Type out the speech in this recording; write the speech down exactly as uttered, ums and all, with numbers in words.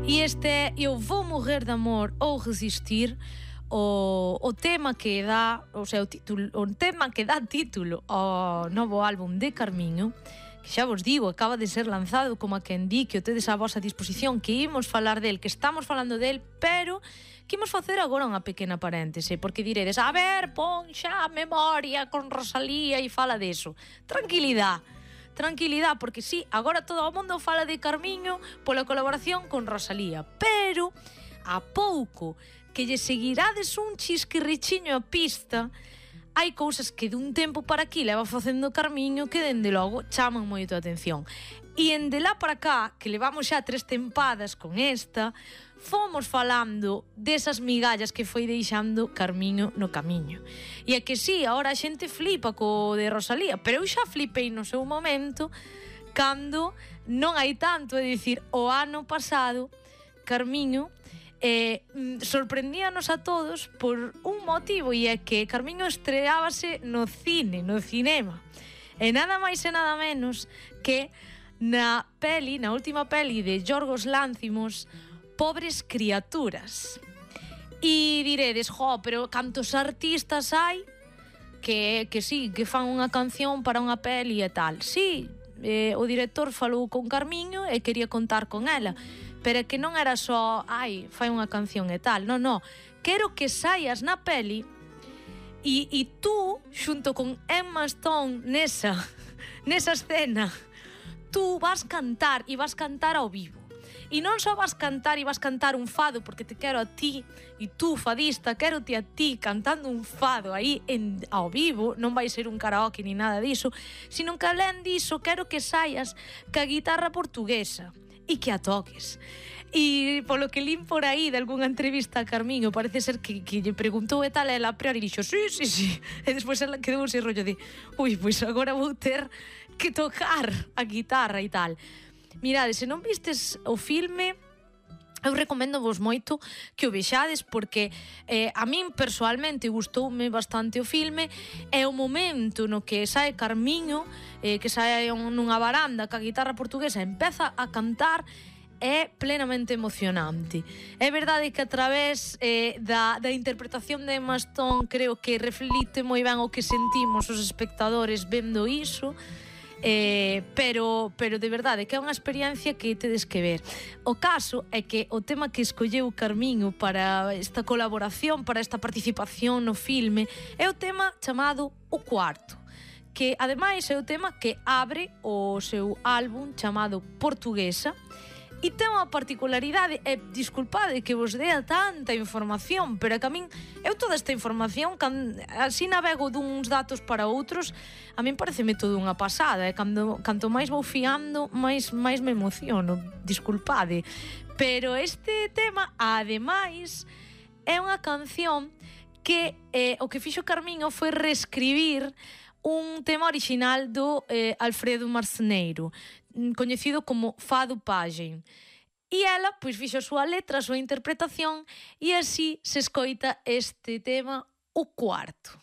E este é Eu Vou Morrer de Amor ou Resistir, o, o tema que dá, o sea, o título, o tema que dá título ao novo álbum de Carmiño, que xa vos digo, acaba de ser lanzado, como a quen di, que o tedes á vosa disposición, que imos falar del, que estamos falando del, pero que imos facer agora unha pequena paréntese, porque diredes, a ver, pon xa a memoria con Rosalía e fala deso. Tranquilidade, tranquilidade, porque sí, agora todo o mundo fala de Carmiño pola colaboración con Rosalía, pero a pouco que lle seguirades un chisquirrichiño a pista, hai cousas que dun tempo para aquí leva facendo Carmiño que dende logo chaman moito a atención. E ende lá para cá, que levamos xa tres tempadas con esta, fomos falando desas migallas que foi deixando Carmiño no camiño. E é que sí, agora a xente flipa co de Rosalía, pero eu xa flipei no seu momento cando non hai tanto, é dicir, o ano pasado Carmiño eh, sorprendíanos a todos por un motivo, e é que Carmiño estreábase no cine, no cinema, e nada máis e nada menos que na peli, na última peli de Yorgos Lánthimos, Pobres Criaturas. E diredes, jo, pero cantos artistas hai que, que sí, que fan unha canción para unha peli e tal. Sí, eh, o director falou con Carmiño e quería contar con ela, pero que non era só, ai, fai unha canción e tal. Non, non, quero que saias na peli e, e tú, xunto con Emma Stone nesa, nesa escena, tú vas cantar e vas cantar ao vivo. E non só vas cantar e vas cantar un fado, porque te quero a ti, e tú, fadista, quero te a ti cantando un fado aí en, ao vivo, non vai ser un karaoke ni nada diso, sino que alén diso quero que saias ca guitarra portuguesa e que a toques. E polo que lín por aí de algunha entrevista a Carmiño, parece ser que, que lle preguntou e tal, ela a priori dixo, sí, sí, sí, e despois ela quedou ese rollo de, ui, pois agora vou ter que tocar a guitarra e tal. Mirade, se non vistes o filme, eu recomendo vos moito que o vexades, porque eh, a min persoalmente gustoume bastante o filme. É o momento no que sae Carmiño, eh, que sae nunha varanda ca guitarra portuguesa, empeza a cantar, é plenamente emocionante. É verdade que a través eh, da, da interpretación de Emma Stone creo que reflite moi ben o que sentimos os espectadores vendo iso. Eh, pero, pero de verdade que é unha experiencia que tedes que ver. O caso é que o tema que escolleu Carmiño para esta colaboración, para esta participación no filme, é o tema chamado O Cuarto, que ademais é o tema que abre o seu álbum chamado Portuguesa. E ten unha particularidade, e disculpade que vos dea tanta información, pero é que a min, eu toda esta información, can, así navego duns datos para outros, a min pareceme todo unha pasada, e cando, canto máis vou fiando, máis, máis me emociono, disculpade. Pero este tema, ademais, é unha canción que eh, o que fixo Carmiño foi reescribir un tema original do eh, Alfredo Marceneiro, coñecido como Fado Paxen. E ela, pois, fixo a súa letra, a súa interpretación, e así se escoita este tema, O Cuarto.